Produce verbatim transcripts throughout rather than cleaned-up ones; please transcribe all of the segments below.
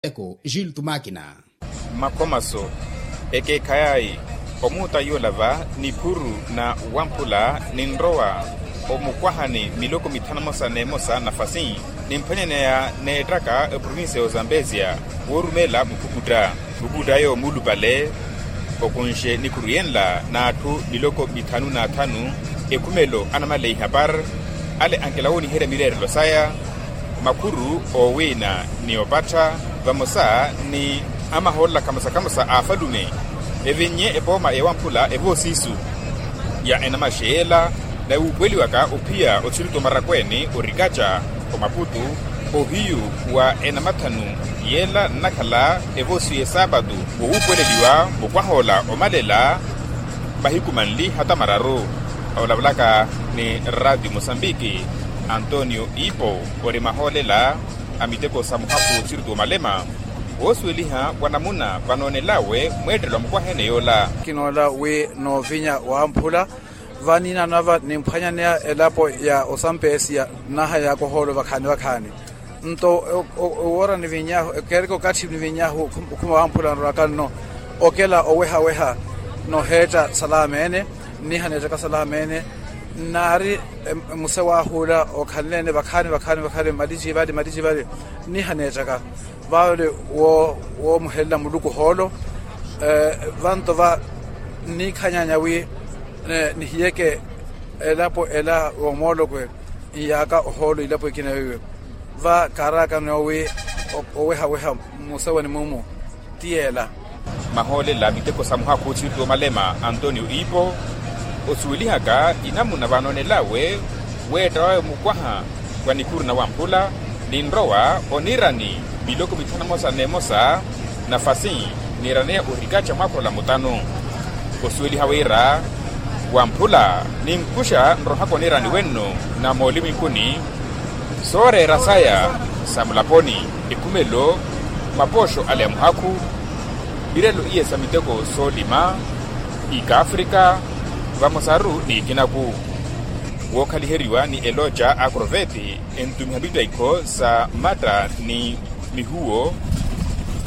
Eko jil tumakina. Makhomaso ekeekhayayi omuuta yoola va niphuru na wamphula ninrowa omukwahani miloko mithanu emosa n'emosa nafasi nimphwanyaneya neettaka eprovinsiya y'ozambezia woorumela mukhukutt'aya. Mukhukutt'aya omuulupale okunxe nikhuru yenla n'atthu miloko mithanu n'athanu ekhumelo anamaleya ihapar ale ankela wooniherya mireerelo saya makhuru owiina ni opattha vamosa ni amahoolela kamosa-kamosa a afalume evinnye epooma ewamphula evoosiisu ya enamaxeyela na wuupuweliwaka ophiya othiritu omarakweeni orikaca omaputu ohiyu wa enamathanu yela nnakhala evoosiisu y'esaapatu wowuupuweleliwa mukwahoola omalela mahiku manli hata mararu. Olavulaka ni ratio mosambiki antonio ipo ori mahoolela a miteko sa muhakhu othiritu omalema woosuweliha wa namuna vanoonelawe mweettelo a mukwahene yoola. Kinoola wi noovinya wamphula vaniinanava nimphwanyaneya elapo ya osampesiya nnaha yakohoolo vakhaani vakhaani. Nto owoora nivinnyahu ekeereke okathi nivinnyahu okhuma wamphula nroraka nno okela oweha-weha noheetta salameene nniha neettaka salameene nnaari muse wahuula okhanleene vakhaani vakhaani vakhaani mmaliji vale mmaliji vale nniha neettaka vale woomuhelela muluku ohoolo. Vanto va nniikhanyanya wi nihiyeke elapo ela woomoolokwe nyaaka ohoolo ilapo ekina weiwe va kaaraakano wi oweha-weha mmusewani mumu ti yeela. Mahoolela miteko sa muhakhu othiritu omalema antonio ipo osuwelihaka inamuna vanoonelawe weetta wawe mukwaha wa nikhuru na wamphula ninrowa oniirani miloko mithanu emosa n'emosa nafasi niiraneya orikaca mwakhula mutanu osuweliha wira wamphula ninkuxa nrohaka oniirani wenno na moolimwinkuni sooreera saya sa mulaponi ekhumelo mapooxo ale a muhakhu mirelo iye sa miteko soolima ikaafrika vamosaru n'ikinaku wookhaliheriwa ni eloca akroveti entumiha mitaikho sa matta ni mihuwo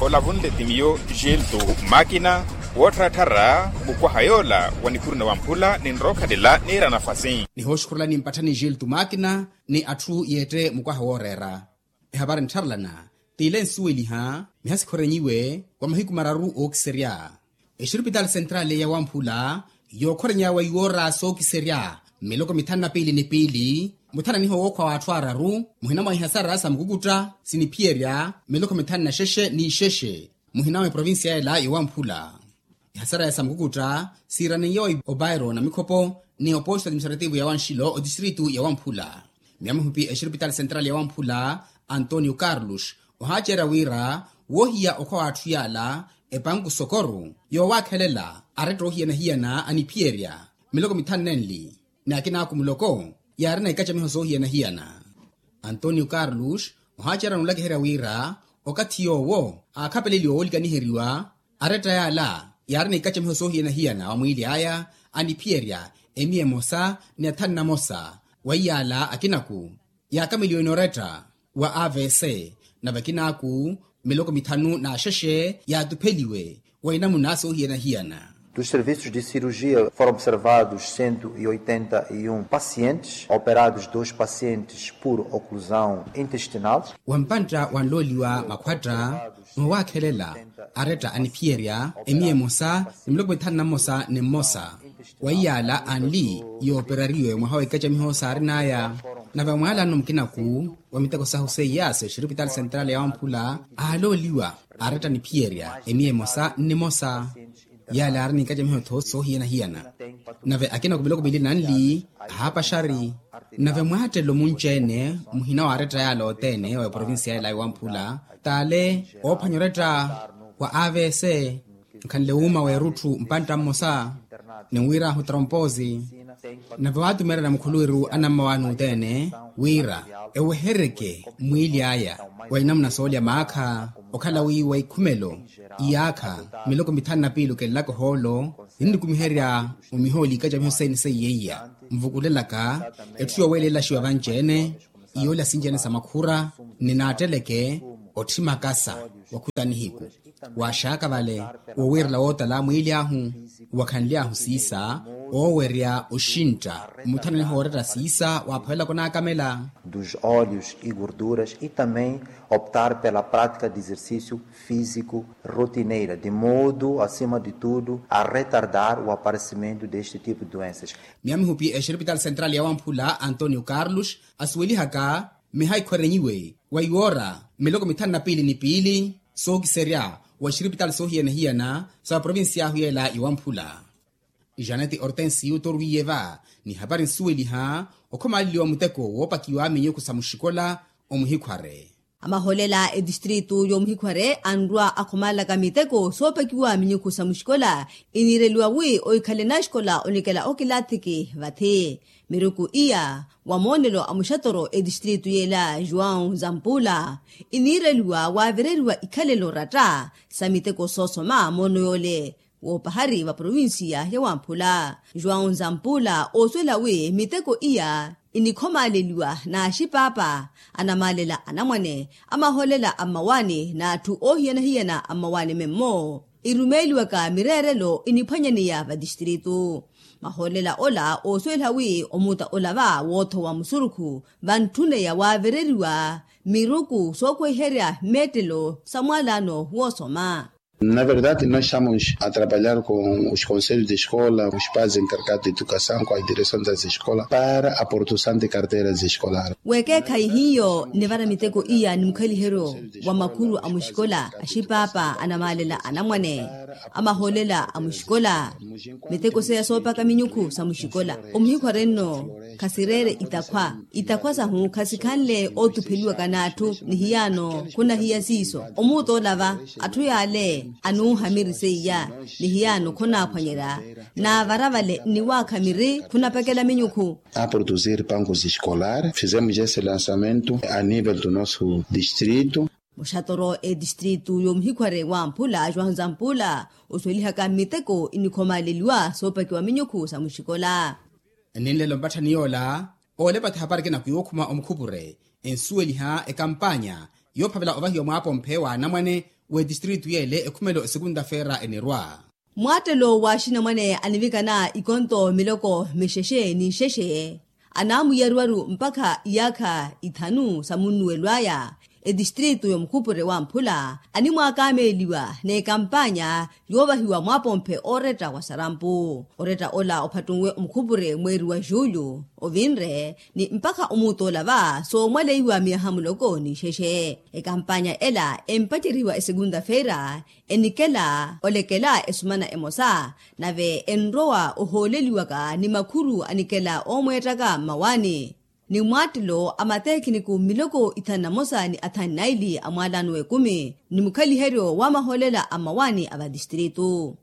olavunle ti miyo gilto makina woottharatthara mukwaha yoola wa nikhuru na wamphula ninrookhalela niira nafasi. Nihooxukhurela nimpatthani gilto makina ni atthu yeette mukwaha wooreera ehapari nttharelana t'ile nsuweliha mihasikhorenyiwe wa mahiku mararu ookiserya exirupitali sentrali ya wamphula yookhorenyawe iwoora sookiserya miloko mithanu na piili ni piili muthananiho wookhwa w'atthu araru muhina mwa ihasara sa mukukutta siniphiyerya miloko mithanu na xexe ni xexe muhina mwa eprovincia ela yowamphula. Ihasaraya sa mukukutta siiraneiye opairo na mikhopo ni oposto administrativo ya wanxilo otistritu ya wamphula miya mihupi exirupitali sentrali ya wamphula antonio carlos ohaacerya wira woohiya okhwa w'atthu yaala epanku sokoru yoowakhelela aretta oohiyana-hiyana aniphiyerya miloko mithanu nenli ni akinaaku muloko yaarina ikacamiho soohiyana-hiyana. Antonio carlos ohaacerya n'ulakiherya wira okathi yoowo aakhapeleliwa woolikaniheryiwa aretta yaala yaarina ikacamiho soohiyana-hiyana wa mwiili aya aniphiyerya emiya emosa ni athanu namosa wa iyaala akinaku yaakameliwe noretta wa avc nave akinaaku miloko mithanu n'axexe yaatupheliwe wa inamuna soohiyana-hiyana. Dos serviços de cirurgia foram observados cento e oitenta e um pacientes operados dois pacientes por oclusão intestinal. Wa mpantta wanlooliwa makhwatta n'owakhelela aretta aniphiyerya emiya emosa ni miloko mithanu na mmosa ni mmosa wa iyaala anli yooperariwe mwaha wa ikacamiho saarin'aya nave mwaalano mukinaku wa miteko sahu seiyase exirupitali sentrali ya wamphula aalooliwa aretta aniphiyerya emiya emosa nnimosa yaale aari ni ikacamiho-tho soohiyana-hiyana nave akina ku miloko miili nanli ahaapaxari nave mwaattelo munci-ene muhina wa aretta yaale othene wa eprovincia ela yowamphula taale oophwanya oretta wa avc nkhanle wuuma w'erutthu mpantta mmosa ni wiirahu tromposi nave waatumeerya na mukhuluwiru anamma waana othene wira eweheryeke mwiili aya wa inamuna soolya maakha okhala wi wa ikhumelo iyaakha miloko mithanu na piili okelelaka ohoolo ninnikumiherya omihooli ikacamiho sene seiyeiya nvukulelaka etthu yoowelela xiwa vanci-ene iyoolya sinci-ene sa makhura ni naatteleke otthi makasa Wakhuta nihiku, waaxaka vale, owiirela wootala mwiili ahu, wakhanly'ahu siisa, oowerya oxintta, omuthananiha ooretta siisa waaphawelela khunaakamela. Dos óleos e gorduras e também optar pela prática de exercício físico rotineira de modo acima de tudo a retardar o aparecimento deste tipo de doenças. Miya mihupi exiripitali sentrali ya wamphula antonio carlos asuwelihaka miha ikhwerenyiwe wa iwoora miloko mithanu na piili ni piili sookiserya wa exiripitali soohiyana-hiyana sa provincia ahu yeela iwamphula. Janete hortensi utorwiye va ni hapari nsuweliha okhomaaleliwa muteko woopakiwa minyukhu sa muxikola omuhikhware. Amaholela etistritu y'omuhikhware anrwa akhomaalelaka miteko soopakiwa minyukhu sa muxikola iniireliwa wi ohikhale naxikola onikela okilathiki vathi. Miruku iya wa moonelo a muxatoro etistritu yeela joão zampula iniireliwa waavereriwa ikhalelo ratta sa miteko soosoma moono yoole woopahari va provincia ya wamphula. João zampula oosuwela wi miteko iya inikhomaaleliwa n'axipaapa anamaalela anamwane amaholela a mmawaani n'atthu oohiyana-hiyana a mmawaani memmo irumeeliwaka mireerelo iniphwanyaneya vatistritu. Maholela ola oosuwela wi omuta ola va woothowa musurukhu vantthuneya waavereriwa miruku sookweherya mmeettelo sa mwaalano woosoma. Na verdade nós estamos a trabalhar com os conselhos de escola os pais encarregados de educação com a direção das escolas para a produção de carteiras escolares. Weekeekhayi hiyo nivara miteko iya ni mukhaliheryo wa makhuru a muxikola axipaapa anamaalela anamwane amaholela a muxikola. Miteko seya soopaka minyukhu sa muxikola omuhikhware nno khasireere itakhwa itakhwa sahu khasikhanle ootupheliwaka n'atthu ni hiyaano khunahiya siiso omuuta ola va atthu yaale anuuha miri seiya ni hiyaano khonaaphwanyerya. Naavara vale nniwaakha miri khunapekela minyukhu. A produzir pankos escolar fizemos esse lançamento a nível do nosso distrito. Muxatoro etistritu y'omuhikhware wamphula joão zampula osuwelihaka mmiteko inikhomaleliwa soopakiwa minyukhu sa muxikola. Ninlelo mpatthani yoola oolepa thapariki nakwiwukhuma omukhupure ensuweliha ekampanya yoophavela ovahiwa mwaapomphe wa anamwane w'etistritu yeele ekhumelo esekunta feera enirwa. Mwaattelo wa axinamwane anivikana ikonto miloko mixexe ni nxexe anaamwiyariwaru mpakha iyaakha ithanu sa munnuwelo aya etistritu y'omukhupure wamphula animwaakameeliwa n'ekampanya yoovahiwa mwaapomphe ooretta wa sarampu. Oretta ola ophattunwe omukhupure mweeri wa julho ovinre ni mpakha omuuta ola va soomwaleiwa miyaha muloko ni nxexe. Ekampanya ela empacerihiwa esekunta feira enikela olekela esumana emosa nave enrowa ohooleliwaka ni makhuru anikela oomweettaka mmawaani. Ni mwaattelo a matekhiniku miloko ithanu na mosa ni athanu na ili a mwaalano w'ekumi ni mukhaliheryo wa maholela a mmawaani a vatistritu.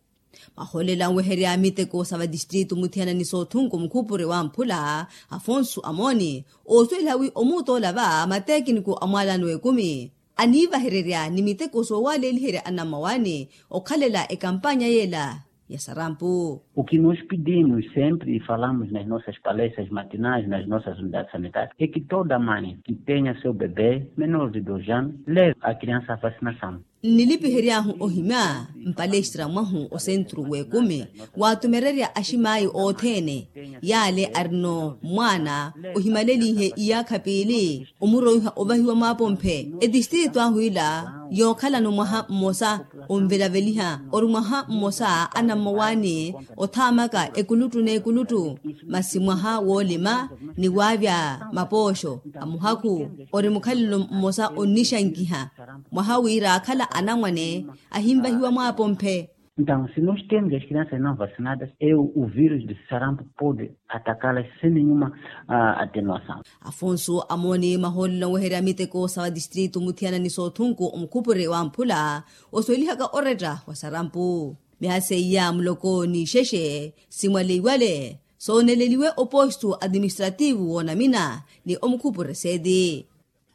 Maholela nweherya miteko sa vatistritu muthiyana ni soothunku mukhupure wamphula afonsu amooni oosuweliha wi omuuta ola va matekhiniku a mwaalano w'ekumi aniivahererya ni miteko soowaleliherya anammawaani okhalela ekampanya yeela ya sarampu. O que nós pedimos sempre e falamos nas nossas palestras matinais nas nossas unidades sanitárias é que toda mãe que tenha seu bebê menor de dois anos leve a criança a vacinação. Nnilipihery'ahu ohimya mpalestra mwahu osentru w'ekumi waatumererya aximaayi othene yaale arino mwaana ohimalelihe iyaakha piili omuroiha ovahiwa mwaapomphe. Etistritu ahu ila yookhalano mwaha mmosa onvelaveliha ori mwaha mmosa anammowaani othaamaka ekuluttu n'ekuluttu masi mwaha woolima ni waavya mapooxo a muhakhu ori mukhalelo mmosa onnixankiha mwaha wira akhala anamwane ahinvahiwa mwaapomphe. Então se nós temos as crianças não vacinadas é o vírus de sarampo pode atacá-las sem nenhuma atenuação. Afonso amooni mahoolelo nweherya miteko sa vatistritu muthiyana ni soothunku omukhupure wamphula osuwelihaka oretta wa sarampu. Miha seiya muloko ni ixexe simwaleiwale sooneleliwe opostu atiministrativu woonamina ni omukhupure seeti.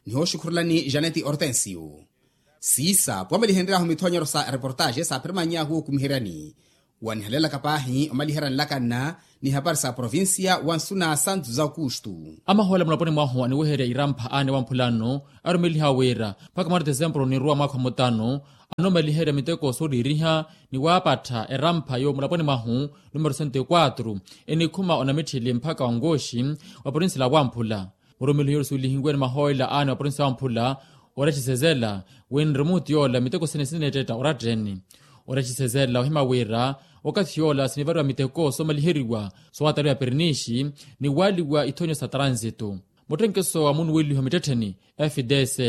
Nihooxukhurelani janeti hortensio siisa puwamelihenryahu mithoonyero sa reportaxe saaphirimanny'ahu okumiheryani. Wanihalelaka paahi omaliherya nlakanna ni hapari sa provincia wa nsuna santu za okustu. Amahoola mulaponi mwahu aniweherya irampha aane wamphulano arumeliha wira mpakha mwari tesempuru nirwa mwaakha mutano, anomaliherya miteko sooriiriha ni waapattha erampha yo mulaponi mwahu numero sento e kwatru, enikhuma onamitthili mpakha wa nkooxi wa provincia la wamphula. Murumeliho yoori suwelihiwe ni mahoolela aane wa provincia wamphula, oraxisezela winre muti yoola miteko sene sineettetta oratteni. Oraxisezela ohima wira okathi yoola sinivariwa miteko soomaliheriwa soowataliwa perinixi ni waaliwa ithonyo sa transitu. Muttenkeso wa munuweliho mittettheni fds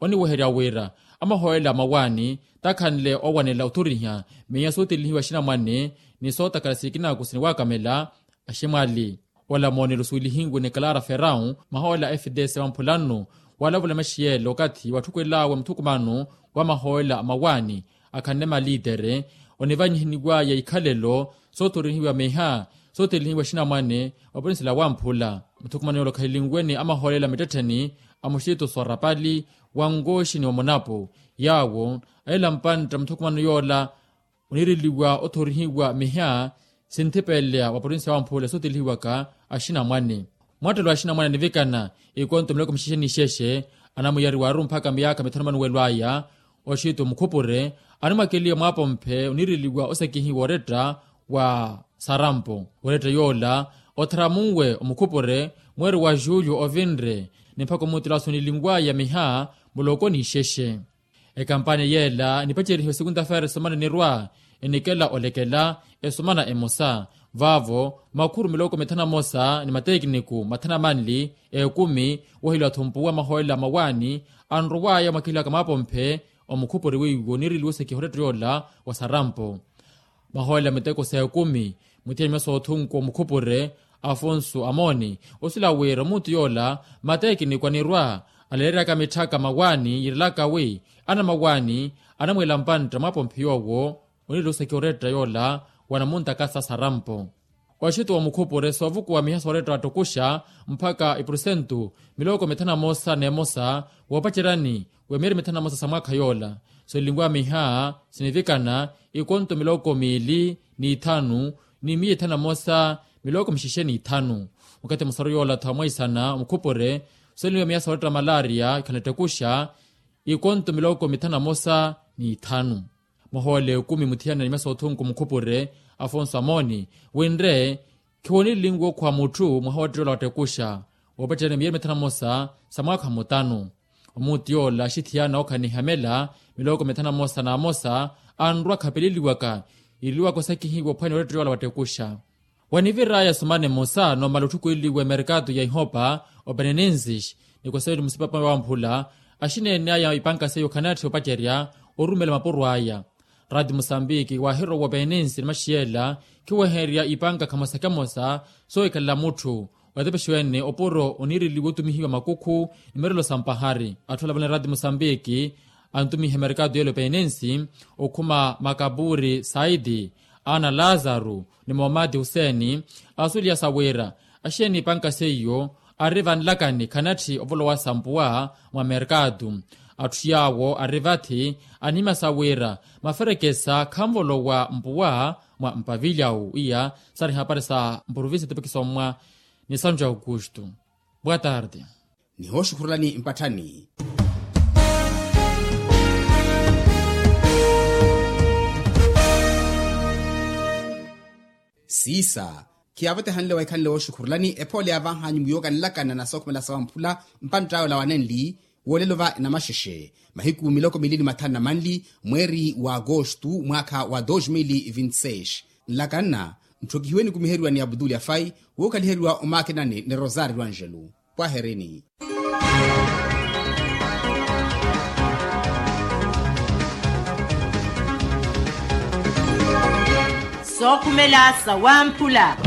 oniweherya wira amahoolela a mawaani takhanle owanela othoriha miya sootelihiwa axinamwane ni sootakhala sikinako siniwakamela aximwali. Ola moonelo suwelihiwe ni clara ferrao mahoolela a fds wamphula nnu, waalavula maxiyele okathi watthukulawe muthukumano wa mahoolela a mawaani akhanle maliitere onivanyihiniwaya ikhalelo soothorihiwa miha sootelihiwa axinamwane wa provincia la wamphula. Muthukumano yoola okhahilinwe ni amahoolela mittettheni a muxitu sorapali wa nkooxi ni wa munapo yaawo alela mpantta muthukumano yoola oniireliwa othorihiwa miha sinthipeleya wa provincia wamphula sootelihiwaka axinamwane. Mwattelo axinamwane anivikana ikonto miloko mixexe ni ixexe anamuyariwaru mpakha miyaakha mithanu manuwelo aya oxitu mukhupure animwakeliwa mwaapomphe oniireliwa osakihiwa oretta wa sarampo oretta yoola othara munwe omukhupure mweeri wa julio ovinre ni mpakha omuutelo asuniliwaya miha muloko ni ixexe. Ekampanya yeela enipacerihiwe sekunta-feere esomana enirwa enikela olekela esomana emosa vaavo makhuru miloko mithanu amosa ni mateekiniku mathanu amanli ekumi woheliwa-tho mpuwa mahoolela a mawaani anrowaya mwakilaka mwaapomphe omukhupuri weiwo oniireliwa osakiha oretta yoola wa sarampo. Mahoolela miteko sa ekumi muthiyanimya soothunku omukhupure afonso amooni osila wira omuutu yoola mateekiniku anirwa aleereryaka mitthaka mawaani yiirelaka wi anamawaani anamweela mpantta mwaapomphe yoowo oniireliwa osakiha oretta yoola wa namuntakasa sarampo. Oxito wa mukhupure soovukuwa miha sooretta wattokuxa mpakha ipurusentu miloko mithanu amosa n'emosa woopaceryani wa miyeeri mithanu amosa sa mwaakha yoola solinwa miha sinivikana ikonto miloko miili n'ithanu ni miya ithanu amosa miloko mixexe n'ithanu. Okathi musaru yoola-tho amwaisana omukhupure solinwa miya sooretta malaria ikhanattokuxa ikonto miloko mithanu amosa n'ithanu. Mwaha ola ekumi muthiyanani mesa othunku mukhupure afonso amooni winre khiwonilinwe okhuwa mutthu mwaha ottetta ola wattekhuxa woopacerya ni miyeeri mithanu amosa sa mwaakha mutanu. Omuuti yoola axithiyana okhaniha mela miloko mithanu amosa n'amosa anrwa khapeleliwaka yiireliwaka osakihiwa ophwanya ottetta yoola wattekhuxa. Wanivir'aya sumana emosa noomala otthukweeliwa emerkatu ya ihopa openenensis ni koseveni musipapa wamphula axineene aya ipanka seiyo khanatthi opacerya orumela mapuro aya. Rati musambiki waahirowa openenensi ni maxiyela khiweherya ipanka khamosa khamosa soohikhalela mutthu otepexiwene opuro oniireliwa otumihiwa makukhu ni mirelo sa mpahari atthu alavona rati musambiki antumiha emerkatu y'elo penensi okhuma makapuri saidi ana lazaru ni moomati huseni asuliya sa wira axiyeni ipanka seiyo ari vanlakani khanatthi ovolowasa mpuwa mwa merkatu. Atthu yaawo ari vathi anihimya sa wira maferekesa khanvolowa mpuwa mwa mpavilyawu iya sari hapari sa mpuruvinsi etopiki sommwa ni sanju aukustu. Boa tarde. Nihooxukhurulani mpatthani. Siisa khiyaavotehanle waikhanle wooxukhurulani ephoole yaavahanyu muyookanelakana na sookhumela sawamphula mpantt'awe olawanenli woolelo va enamaxexe mahiku miloko miili ni mathanu na manli mweeri wa agostu mwaakha wa dos mil vinti seis. Nlakanna ntthokihiwe nikumiheriwa ni abdul afai wookhaliheriwa omaakinani ni rosario angelo. Pwaherini. Sookhumela sawamphula.